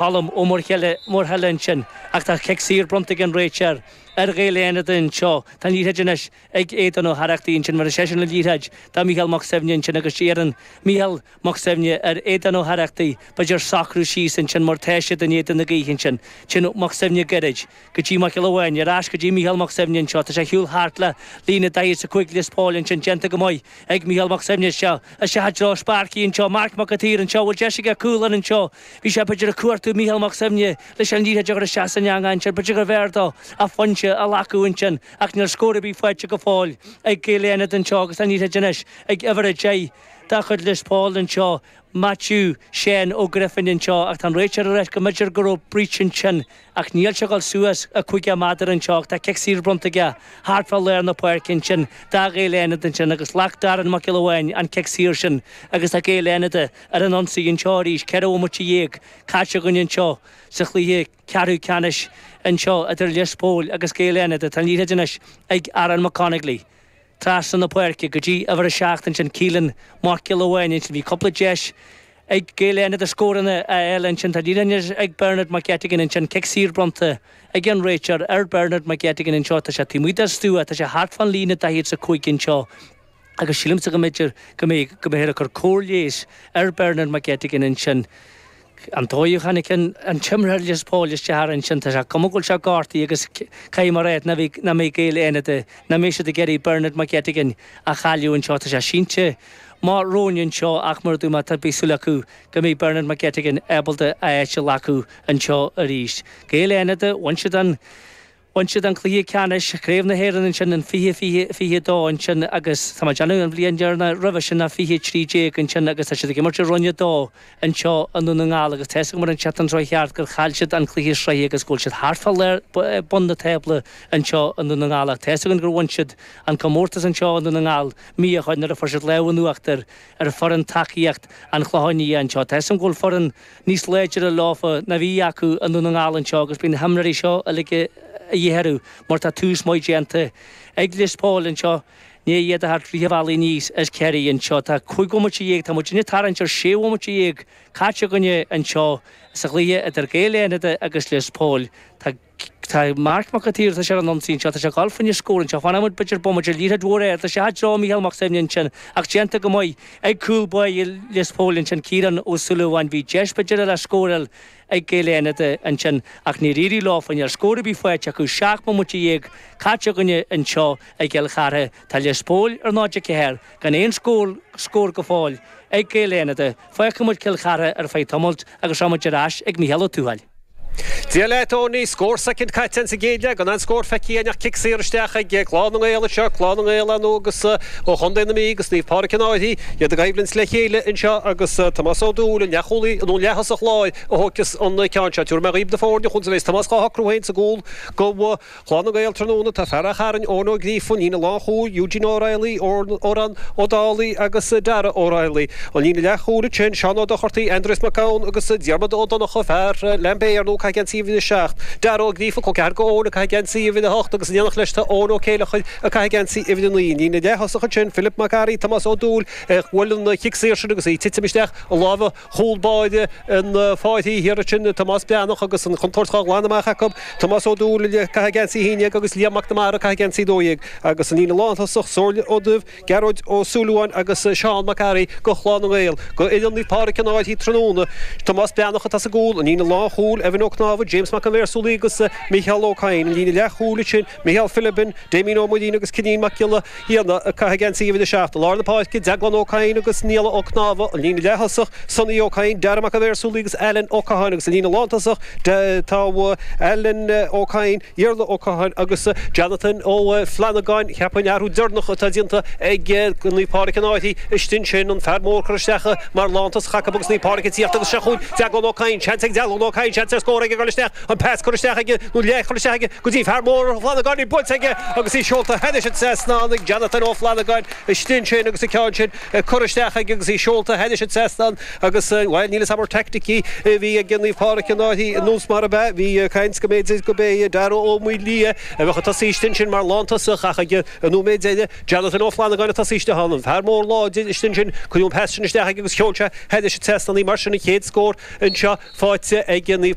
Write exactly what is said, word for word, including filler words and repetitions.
Colm Ó Muirthile ansin ach tá cic saor bronnta ag an réiteoir ar Ghaeil Fhánada anseo. Tá an liathróid anois ag Aodán Ó hArrachtaigh ansin mar is eisean an liathróid do Mhícheál Mac Suibhne ansin agus iarrann Mícheál Mac Suibhne ar Aodán Ó hArrachtaigh b'fhéidir socrú síos ansin mar tá siad in éadan na gaoithe ansin. Sin Mac Suibhne gairid go dtí Mac Giolla Bháin ar ais go dtí Mícheál Mac Suibhne anseo. Tá sé ar shiúl thart le líne daichead is a cúig Lios Póil ansin déanta go maith ag Mícheál Mac Suibhne seo isteach i dtreo Sparky anseo Marc Mac an tSaoir anseo bhfuil deis aige cúl ann anseo. Bhí sé b'fhéidir ag cuartú Mícheál Mac Suibhne leis an liathróid a chur isteach san eangach ansin b'fhéidir gurbh fhearr dó a phointe a ghlacadh ansin ach níl scór ar bith faighte go fóill ag Gaeil Fhánada anseo agus an liathróid anois ag uimhir a deich de chuid Lios Póil anseo Matthew Shane Ó Grifin anseo ach tá an réiteoir ag rá go mb'fhéidir go raibh breach ansin ach níl sé ag dul suas a cúig méadar anseo tá cic saor bronnta aige thart fá lár na páirce ansin do Ghaeil Fhánada ansin agus ghlac Darren Mac Giolla Bháin an cic saor sin agus tá Gaeil Fhánada ar an ionsaí anseo arís ceithre bhomaite dhéag caite againn anseo sa chluiche ceathrú ceannais anseo idir Lios Póil agus Gaeil Fhánada tá an liathróid anois ag Aaron McConaughey. Trasna na páirce go dtí uimhir a seacht ansin Keelan Mac Giolla Bháin ansin bhí cúpla deis ag Gaeil Fhánada scóranna a fháil ansin tá liathróid ag Bernard McGettigan ansin cic saor bronnta ag an réiteoir ar Bernard McGettigan anseo tá sé taobh amuigh den stua tá sé thart fán líne daichead is a cúig anseo agus sílimse go mb'fhéidir go mbeidh go mbeidh ag cur cóir leighis ar Bernard McGettigan ansin. An dóigh a tháinig an t-imreoir Lios Póil isteach ansin tá sé cuma go bhfuil sé gortaithe agus caithfidh mé a rá nach mbeidh Gaeil Fhánada nach mbeidh siad ag iarraidh Bernard McGettigan a chailleadh anseo tá sé sínte mar róin anseo ach mar a dúirt mé tá beidh súil acu go mbeidh Bernard McGettigan ábalta a áit a ghlacadh anseo arís. Gaeil Fhánada bhain siad an Bhain siad an cluiche ceannais, Craobh na hÉireann ansin in fiche fiche fiche a dó ansin agus tá mé ag déanamh an bhliain dheireanach roimhe sin ná fiche trí déag ansin agus tá siad ag imirt i Roinn a dó anseo i nDún na nGall agus tá a fhios agam ar an tseachtain seo cheart gur chaill siad an cluiche sraithe agus go bhfuil siad thart fá lár bun na tábla anseo i nDún na nGall ach tá a fhios againn gur bhain siad an comórtas anseo i Ndún na nGall mí ó shin nuair a fuair siad lámh in uachtar ar foireann tacaíocht an Chlocháin Liath anseo. Tá a fhios agam go bhfuil foireann níos láidre leofa ná bhí acu i nDún na nGall anseo agus bíonn na himreoirí seo uilig a dhíth orthu mar tá tús maith déanta ag Lios Póil anseo ní iad a thart rith an bhealaigh aníos as Ciarraí anseo. Tá cúig bhomaite dhéag, tá muid ag tarraingt ar sé bhomaite dhéag caite againne anseo sa chluiche idir Gaeil Fhánada agus Lios Póil. Tá Tá Marc Mac an tSaoir, tá sé ar an ionsaí anseo, tá sé ag dul fá choinne scór anseo, fanfaidh muid b'fhéidir bomaite, liathróid mhór air, tá sé i dtreo Mícheál Mac Suibhne ansin ach déanta go maith ag cúl báire Lios Póil ansin, Ciarán Ó Súilleabháin, bhí deis b'fhéidir le scóráil ag Gaeil Fhánada ansin ach níor éirigh leofa, níl scór ar bith faighte acu, seacht mbomaite dhéag caite againne anseo i gCill Chartha. Tá Lios Póil ar náid a ceathair gan aon scór scór go fóill ag Gaeil Fhánada. Fágfaidh muid Cill Chartha ar feadh tamaill agus rachaidh muid ar ais ag Mícheál Ó Tuathail. Dia leat, Tony. Scór soicind caite insa gcéad leath, gan aon scór feicthe againn ach cic saor isteach ag Clann na nGael anseo, Clann na nGael ar ndóigh agus ó Chontae na Mí agus Naomh Pádraig an Fhairche, iad i gcoimhlint le chéile anseo agus Tomás Ó Dúill, an leathchúlaí nó an leath-thosach láir a thógfas an ceann seo. Tabharfaidh mé dhaoibh na foirne conas a bheas Tomás dhá shocrú féin sa gcúl do Chlann na nGael tráthnóna. Tá fear Achadh Chairn, Eoin Ó Gríofa, an líne lánchúil, Eugene O'Reilly, Odhrán Ó Dálaigh agus Dara O'Reilly. An líne leathchúil ansin, Seán Ó Dochartaigh, Aindrias Mac Gabhann agus Diarmuid Ó Donnchadha, fear Lambay ar ndóigh, ag caitheamh geansaí uimhir a seacht, Dara Ó Gríofa, col ceathar do Eoin, ag caitheamh geansaí uimhir a hocht agus in éineacht leis tá Eoin Ó Céileachair ag caitheamh geansaí uimhir a naoi. An líne leath-thosach ansin, Philip Mac Fhearraigh, Tomás Ó Dúill, a bhuail an chic saor sin agus í ag titim isteach i lámha chúl báire an Fhairche thiar ansin, Tomás Breathnach agus an chontúirt dhá ghlanadh amach acu, Tomás Ó Dúill ag caitheamh geansaí a haon déag agus Liam Mac Namara ag caitheamh geansaí a dó dhéag agus an líne lántosach, Somhairle Ó Duibh, Gearóid Ó Súilleabháin agus Seán Mac Fhearraigh do Chlann na nGael. Do fhoireann Naomh Pádraig an Fhairche tráthnóna, Tomás Breathnach atá sa gcúl, an líne lánchúil, Evan Ó Cnámha, James Mac an Bhéarsúlaigh agus Micheál Ó Cadhain, an líne leathchúil ansin, Micheál Philibin, Damien Ó Muirín agus Cinín Mac Giolla Fhianna ag caitheamh geansaí uimhir a seacht. I lár na páirce, Deaglán Ó Cadhain agus Nialla Ó Cnámha, an líne leath-thosach, Sonny Ó Cadhain, Dara Mac an Bhéarsúlaigh agus Alan Ó Catháin agus an líne lántosach, tá Alan Ó Cadhain, Iarla Ó Catháin agus Jonathan Ó Flannagáin. Cheapfainn athrú deireanach atá déanta ag Naomh Pádraig an Fhairche istigh ansin, an fear mór curtha isteach mar lántosach acu agus Naomh Pádraig ag tíocht agus seo chugainn Deaglán Ó Cadhain, seans ag Deaglán Ó Cadhain, seans ar scór mór ag dul isteach an pas curtha isteach aige nó leath curtha isteach aige go dtí fear mór Ó Flannagáin buailte aige agus í seolta thairis an trasnán ag Jonathan Ó Flannagáin istigh sin agus an ceann sin curtha isteach aige agus í seolta thairis an trasnán agus bhuel níl a fhios agam ar taicticí a bhí ag Naomh Pádraig an Fhairche nós mar a be bhí caint go mb'fhéidir go bé Dara Ó Maolia a bheadh ag tosaí istigh sin mar lántosach ach ag an nóiméad deiridh Jonathan Ó Flannagáin ag tosaí istigh ann an fear mór láidir istigh sin cuireadh an pas sin isteach agus sheol sé thairis an trasnán í mar sin an chéad scór anseo faighte ag Naomh